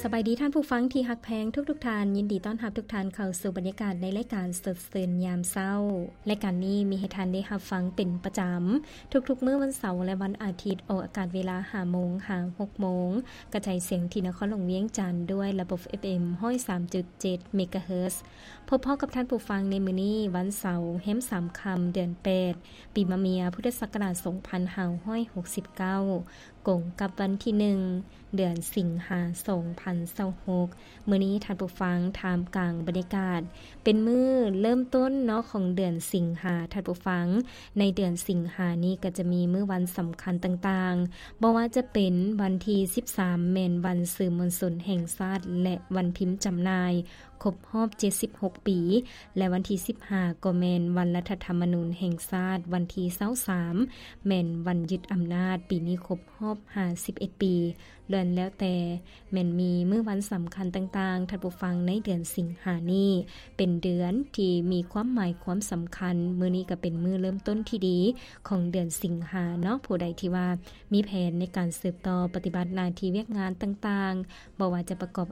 ສະບາຍດີທ່ານຜູ້ຟັງທີ່ຮັກແພງທຸກໆທ່ານ, ຍິນດີຕ້ອນຮັບທຸກທ່ານເຂົ້າສູ່ບັນຍາກາດໃນລາຍການສົດຊື່ນຍາມເຊົ້າ. ລາຍການນີ້ມີໃຫ້ທ່ານໄດ້ຮັບຟັງເປັນປະຈຳທຸກໆມື້ວັນເສົາ ແລະ ວັນອາທິດ, ອອກອາກາດເວລາຫ້າໂມງຫາຫົກໂມງ, ກະຈາຍສຽງທີ່ນະຄອນຫຼວງວຽງຈັນດ້ວຍລະບົບ ເອັຟເອັມ ຮ້ອຍສາມຈຸດເຈັດ ເມກາເຮີດ. ພົບພໍ້ກັບທ່ານຜູ້ຟັງໃນມື້ນີ້ ວັນເສົາ ແຮມສາມຄ່ຳ ເດືອນແປດ ປີມະເມຍ ພຸດທະສັກກະລາດສອງພັນຫ້າຮ້ອຍຫົກສິບເກົ້າ ກົງກັບວັນທີໜຶ່ງ ເດືອນສິງຫາ ສອງພັນຊາວຫົກ. ມື້ນີ້ທ່ານຜູ້ຟັງ ທ່າມກາງບັນຍາກາດ ເປັນມື້ເລີ່ມຕົ້ນເນາະຂອງເດືອນສິງຫາ. ທ່ານຜູ້ຟັງ ໃນເດືອນສິງຫານີ້ກໍຈະມີມື້ວັນສຳຄັນຕ່າງໆ, ບໍ່ວ່າຈະເປັນວັນທີສິບສາມ ແມ່ນວັນສື່ມວນຊົນແຫ່ງຊາດ ແລະ ວັນພິມຈຳໜ່າຍ ຄົບຮອບເຈັດສິບຫົກປີ ແລະ ວັນທີສິບຫ້າ ກໍແມ່ນວັນລັດຖະທຳມະນູນແຫ່ງຊາດ, ວັນທີຊາວສາມ ແມ່ນວັນຍຶດອຳນາດ, ປີນີ້ຄົບຮອບຫ້າສິບເອັດປີ. ລ້ວນແລ້ວແຕ່ແມ່ນມີມື້ວັນສຳຄັນຕ່າງໆ, ທ່ານຜູ້ຟັງ, ໃນເດືອນສິງຫານີ້ ເປັນເດືອນທີ່ມີຄວາມໝາຍຄວາມສຳຄັນ. ມື້ນີ້ກໍເປັນມື້ເລີ່ມຕົ້ນທີ່ດີຂອງເດືອນສິງຫາເນາະ. ຜູ້ໃດທີ່ວ່າມີແຜນໃນການສືບຕໍ່ປະຕິບັດໜ້າທີ່ວຽກງານຕ່າງໆ, ບໍ່ວ່າຈະປະກອບ